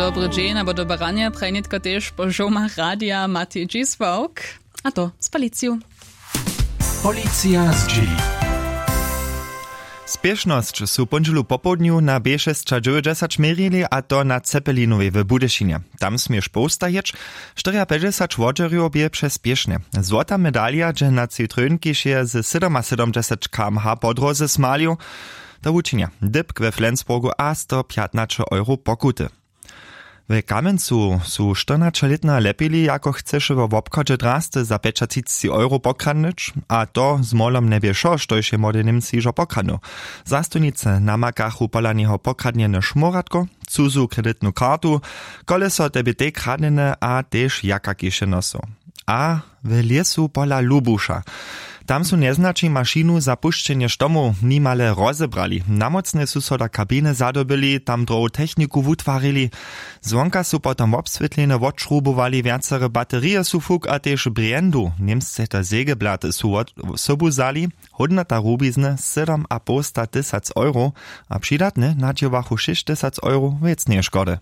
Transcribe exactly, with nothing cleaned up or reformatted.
Dobry dźeń abo dobre ranje prajnitko tež po žołmach radija matej dźisławk. A to z policiju. Policija zdźěli. Spěšnosć su póndźelu popołdnju na b šesćadźewjećdźesać měrili, a to na cepelinowej w budyšinje. Tam směš powstajeć. Štyriapjećdźesać wodźerjow bě přespěšne. Złota medalja dźe na citrynkišeje ze sydomasydomdźesać km h po dróze smalił. To wučinja dypk we flensburgu a sto pjatnaće euro pokuty. W kamjencu su štyrnaćelětna lepili, jako chceše wo wobchodźe drasty za pjećatřicci euro pokradnyć, a to z molom njebě wšo, štož je młody němc hižo pokradnył. Zastojnicy namakachu pola njeho pokradnjene šmóratko, cuzu kreditnu kartu, koleso te bě tej kradnjene a tež jaka kišenosow. A w lěsu pola lubuša, tam su njeznaći mašinu za pušćenje štomow nimale rozebrali. Namócnje su so do kabiny zadobyli, tam drohu techniku wutwarili. Zwonka su potom wobswětljenje wotšrubowali, wjacere baterije su fuk a tež brjendu, němsce to sägeblaty, su wot sobu wzali. Hódnota rubizny sydomapołsta tysac euro, a přidatne nadźěłachu šěsćtysac euro wěcneje škody.